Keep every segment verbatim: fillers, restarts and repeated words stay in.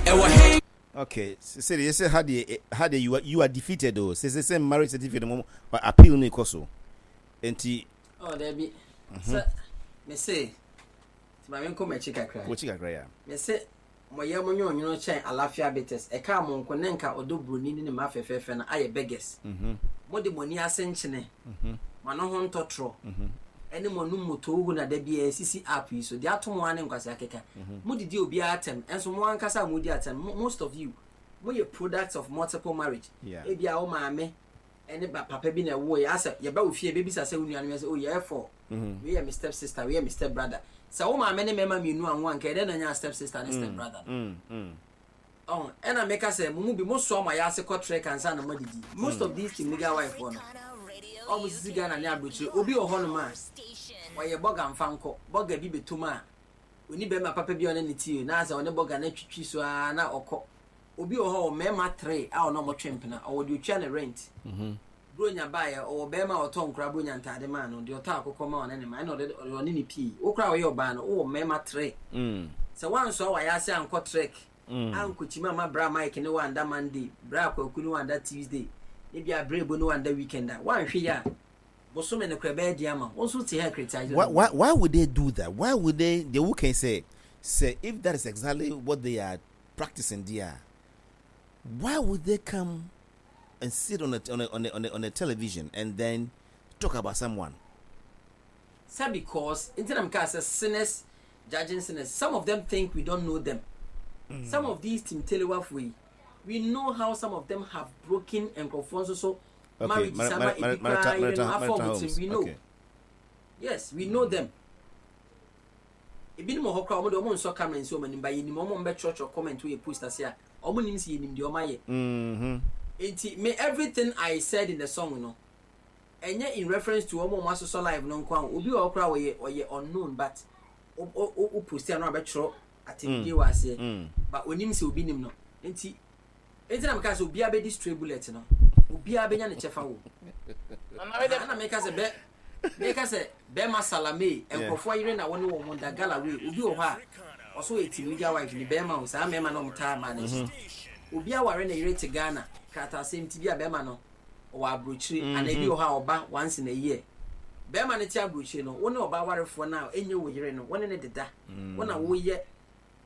Ɛwɔ he? Okay, sɛ deɛ sɛ ha deɛ ha deɛ you are you are defeated o. Sɛ sɛ sɛ marriage certificate mo appeal no kɔ so. Nti. Oh, dabi. Sɛ me se, ti ma me nkɔ m'akyi kakra. Wɔkyi kakra ya. Me se mo yɛ mo nwonwono kyɛn alafia bitters. Ɛka mo nko ne nka ɔdɔ buroni ne ne mma fɛfɛɛfɛ no ayɛ beggars. Mo de mo ani ase nkyene, mo ano ho ntɔtorɔ, ɛne mo anum mo toohu na da biara esisi app yi so. Deɛ ato mo ara ne nkwasi akeka. Mo didi obiara atɛm, ɛnso mo ankasa a mo di atɛm, most of you, mo yɛ products of multiple marriage. Yeah. Ebia wo maame ɛne ba papa bi na ɛwɔ yɛ asɛ yɛba wo fie ebebisa sɛ wo nuanom yɛ sɛ, oh, yɛyɛ four. Wei yɛ me step sister, wei yɛ me step brother. Sɛ wo maame ne mmarima mmienu anwo anka ɛdɛn na nya step sister ne step brother no? Mm, mm. Ɔn, ɛna meka sɛ mo mu bi mo soa mo ayɛ ase kɔ trek ansa na mo adidi. Most of these team legal wife foɔ no, ɔmo sisi Ghana ne aburokyire, obi wɔ hɔnom a ɔyɛ bɔga nfa nkɔ bɔga bi bɛtum a oni bɛrima papa bi a ɔne ne tie na sɛ ɔne bɔga no atwitwi so ara na ɔkɔ. Obi wɔ hɔ, ɔwɔ mmarima three a ɔne ɔmo twe mpena, ɔwɔ deɛ otua ne rent. Bronya baeɛ, ɔwɔ bɛrima a ɔtɔ nkora bronya ntaade maa no, deɛ ɔtɔ akokɔ ma ɔne ne ma, ɛna ɔde ɔne ne pii. Wo koraa ɔyɛ ɔbaa no, wowɔ mmarima three. Sɛ woansoa wayɛ ase ankɔ trek, ankɔkyima ama bra Mike ne wanda Monday, bra Kwaku ne wanda Tuesday, ne bia bra Ebo ne wanda weekend a, woanhwɛ yi a, bosome no koraa ɛbɛyɛ den ama wo. Wo nso te ha criticize. Why, why, why would they do that? Why would they? They who can say, say if that is exactly what they are practicing there, why would they come and sit on a, on a, on a, on a, on a television and then talk about someone? Sɛ because nti na meka sɛ sinners judging sinners. Some of them think we don't know them. Some of these Team Telewafo yi, we know how some of them have broken nkurɔfoɔ nso so Okay, marriage mar- sama mar- ebi mar- koraa marital, yere no marital, afa marital ɔmo homes. tirim. We know. Okay. Yes, we know them. Ebinom wɔ hɔ koraa, ɔmo de ɔmo nsɔ camera nsi ɔmo anim ba, yɛnim ɔmo. Ɔmo bɛtwerɛtwerɛ comment wɔ yɛ post ase a ɔmo nim sɛ yɛnim deɛ ɔmo ayɛ. Mm-hmm. Nti me, everything I said in the song no, ɛnyɛ in reference to ɔmo a ɔmo asosɔ live no nko a. Obi wɔ hɔ koraa, ɔyɛ ɔyɛ unknown, but o o o post a no abɛtwerɛ atɛmdie wɔ aseɛ Mm. but onim sɛ obi nim no. Nti nti na meka sɛ obiara bɛdi stray bullet no, obiara bɛnya ne kyɛfa wɔ Nana wei ɛna meka sɛ bɛ meka sɛ bɛrima salame nkurɔfoɔ yere na wɔne wɔn da gala wei. Obi wɔ hɔ a ɔso yɛ team legal wife ni bɛrima o. Saa mmarima na wɔn taa maa n'akyi, obi aware ne yere te Ghana kratasɛm ti bi a bɛrima no ɔwɔ aburokyire ana ebi wɔ hɔ a ɔba once in a year. Bɛrima no te aburokyire no, wo ne ɔbaa awarefoɔ no a ɛnyɛ wo yere no, wo ne ne deda, wo na woyɛ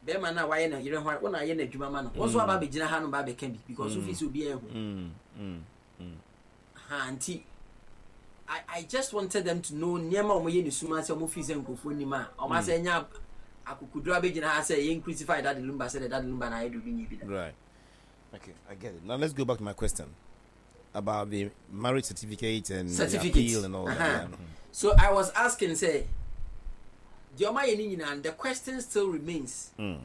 bɛrima no a wayɛ ne yere ho, wo na ayɛ n'adwuma ma no. Wo nso aba abɛgyina ha no ba abɛka bi because wofi sɛ obiara ehu. Mm. Mm. Mm. Ha nti I, I just wanted them to know nneɛma a wɔyɛ ne suma sɛ wɔn fi sɛ nkurɔfoɔ nim a wɔn asɛ nya akokoduro abɛgyina ha sɛ yɛn crucify Daddy Lumba sɛ de Daddy Lumba na ayɛ de obi nye bi da. Right. Okay, I get it. Now let's go back to my question about the marriage certificate and the certificate appeal and all Uh-huh. that. Yeah. So I was asking sɛ deɛ ɔmo ayɛ ne nyinaa, the question still remains. Mm.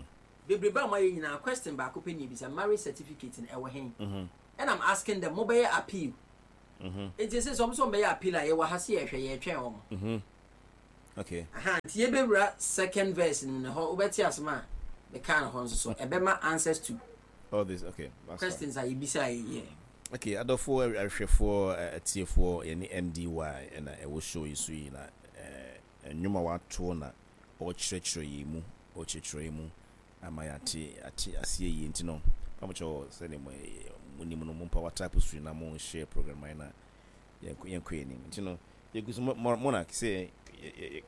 Bebrebe a ɔmo ayɛ nyinaa, question baako pɛ ne ebisa: marriage certificate no ɛwɔ hen? Mm-hmm. And I'm asking them, mo bɛyɛ appeal? Mm-hmm. Nti sɛ sɛ ɔmo sɛ ɔmo bɛyɛ appeal a, yɛwɔ ha se yɛhwɛ, yɛtwɛn wɔn. Mm-hmm. Okay. Aha, nti yɛbɛwura second verse no mu hɔ, wobɛte asɛm a meka no hɔ nso so ɛbɛma answers to All this. Okay. That's fine. questions a yɛbisa yɛ yɛ. Okay, adɔfoɔ, ahwɛfoɔ, atiefoɔ, yɛne M D Y ɛna ɛwɔ show yi so yi na ɛɛ nnwom a wato na ɔrekyerɛkyerɛ yɛn mu, ɔrekyerɛkyerɛ yɛn mu ama yɛate ate aseɛ yie. Nti no, pamokyɛw, sɛdeɛ mo mo nim no, mo mpa wa type so na mo share program ayɛ na yɛnkɔ yɛnkɔ yɛn anim. Nti no, yɛgu so mo mo na sɛ yɛ yɛ